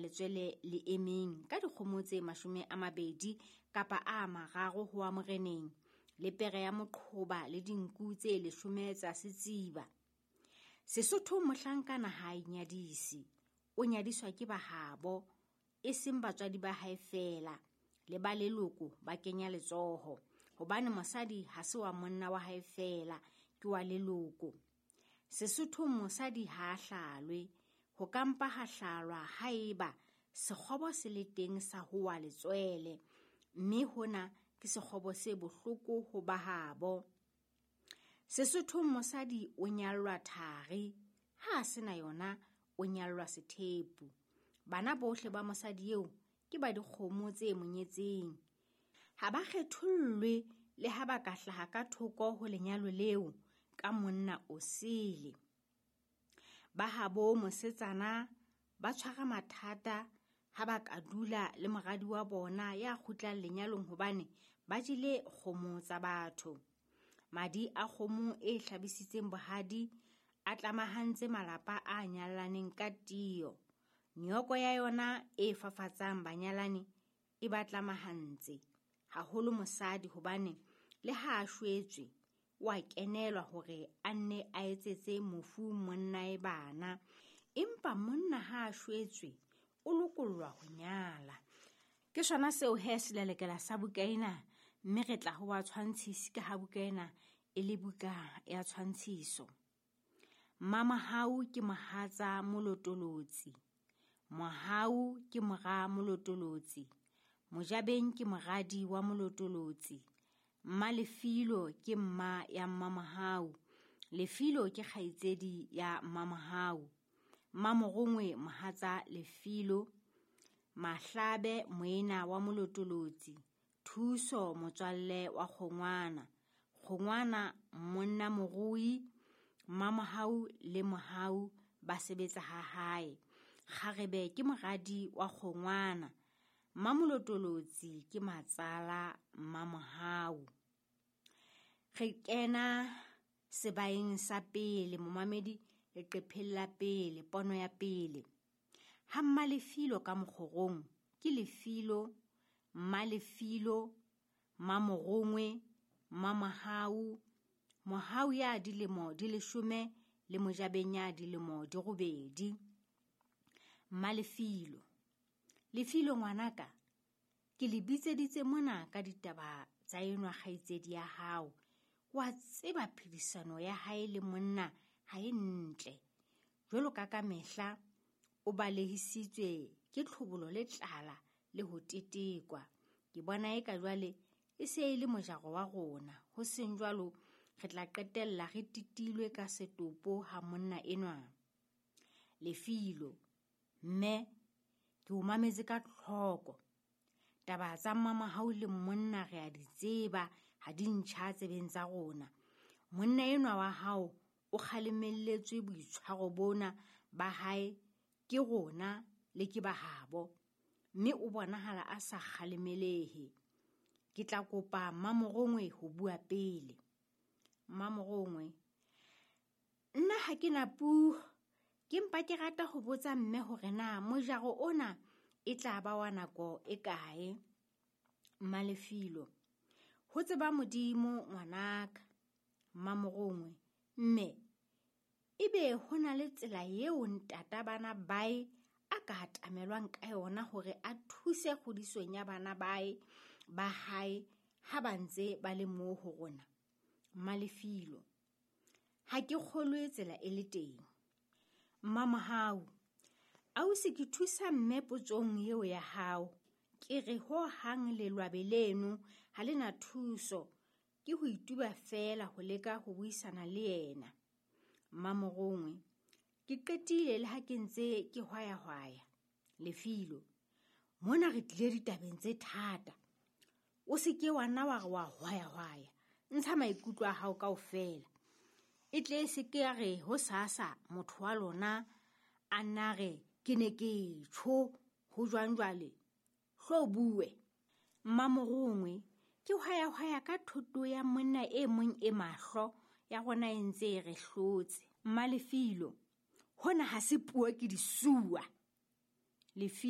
letswele le emeng ka dikgomo tse 20 kapa a 3 ho wa moreneng, le pere ya moqhoba le dinku tse 10 tsa setsiba. Sesotho mohlankana ha a inyadise, o nyadiswa ke bahabo, e seng batswadi ba hae feela, le ba leloko ba kenya letsoho, hobane mosadi ha se wa monna wa hae feela, ke wa leloko. Sesothong mosadi ha a hlalwe, ho ka mpa ha hlalwa haeba sekgobo se le teng sa ho wa letswele, mme hona ke sekgobo se bohloko ho bahabo. Sesothong mosadi o nyallwa thari, ha a sena yona o nyallwa sethepu. Bana bohle ba mosadi eo ke ba dikgomo tse monyetseng. Ha ba kgethollwe le ha ba ka hlaha ka thoko ho lenyalo leo ka monna o sele. Ba habo mosetsana ba tshwara mathata ha ba ka dula le moradi wa bona ya kgutlang lenyalong hobane ba jele kgomo tsa batho. Madi a kgomo e hlabisitseng bohadi a tlamahantse malapa a nyalaneng ka tiyo. Nyoko ya yona e fafatsang banyalani e ba tlamahantse, haholo mosadi hobane le ha a shwetswe o a kenelwa hore a nne a etsetse mofu monnae bana. Empa monna ha a shwetswe o lokollwa ho nyala. Ke sona seo he selelekela sa buka ena, mme re tla ho wa tshwantshisi ka ha buka ena e le buka ya tshwantshiso. Mmamahau ke mohatsa Molotolotsi, Mohau ke mora Molotolotsi, Mojabeng ke moradi wa Molotolotsi, Mmalefilo ke mma ya Mmamahau, Lefilo ke kgaitsedi ya Mmamahau, Mmamorongwe mohatsa Lefilo, Mahlabe moena wa Molotolotsi, Thuso motswalle wa Kgongwana, Kgongwana monna morui, Mmamahau le Mohau ba sebetsa ha hae. Kgarebe ke moradi wa Kgongwana, Mmamolotolotsi ke matsala Mmamohau. Re kena sebaeng sa pele, momamedi, leqepheng la pele, pono ya pele. Ha Mmalefilo ka mokgorong ke Lefilo, Mmalefilo, Mmamorongwe, Mmamohau, Mohau ya dilemo di 10 le Mojabeng ya dilemo di 8. Mmalefilo, Lefilo ngwanaka, ke le bitseditse mona ka ditaba tsa enwa kgaitsedi ya hao. Wa tseba phedisano ya hae le monna ha e ntle. Jwalo ka kamehla o balehisitswe ke tlhobolo le tlala le ho tetekwa. Ke bona eka jwale e se e le mojaro wa rona. Ho seng jwalo re tla qetella re titilwe ka setopo ha monna enwa. Lefilo, mme ke o mametse ka tlhoko. Taba tsa Mmamahau le monna re a di tseba, ha di ntjha tsebeng tsa rona. Monna enwa wa hao o kgalemelletswe boitshwaro bona ba hae ke rona le ke bahabo, mme o bonahala a sa kgalemelehe. Ke tla kopa Mmamorongwe ho bua pele. Mmamorongwe, nna ha ke na puo, ke mpa ke rata ho botsa mme hore na mojaro ona e tla ba wa nako e kae. Mmalefilo, ho tseba Modimo ngwanaka. Mmamorongwe, mme ebe ho na le tsela eo ntata bana bae a ka atamelwang ka yona hore a thuse kgodisong ya bana bae ba hae ha ba ntse ba le moo ho rona. Mmalefilo, ha ke kgolwe tsela e le teng. Mmamohau, ausi ke thusa mme potsong eo ya hao. Ke re ho hang lelwabe leno ha le na thuso, ke ho ituba feela ho leka ho buisana le yena. Mmamorongwe, ke qetile le ha ke ntse ke hwayahwaya. Lefilo, mona re tlile ditabeng tse thata. O se ke wa nna wa re wa hwayahwaya, ntsha maikutlo a hao kaofela. E tle se ke ya re ho sasa motho wa lona a nna re ke ne ke tjho ho jwang jwale, hlo bue. Mmamorongwe, ke hwayahwaya ka thoto ya monna e mong e mahlo ya rona e ntse e re hlotse. Mmalefilo, hona ha se puo ke disuwa. Lefilo.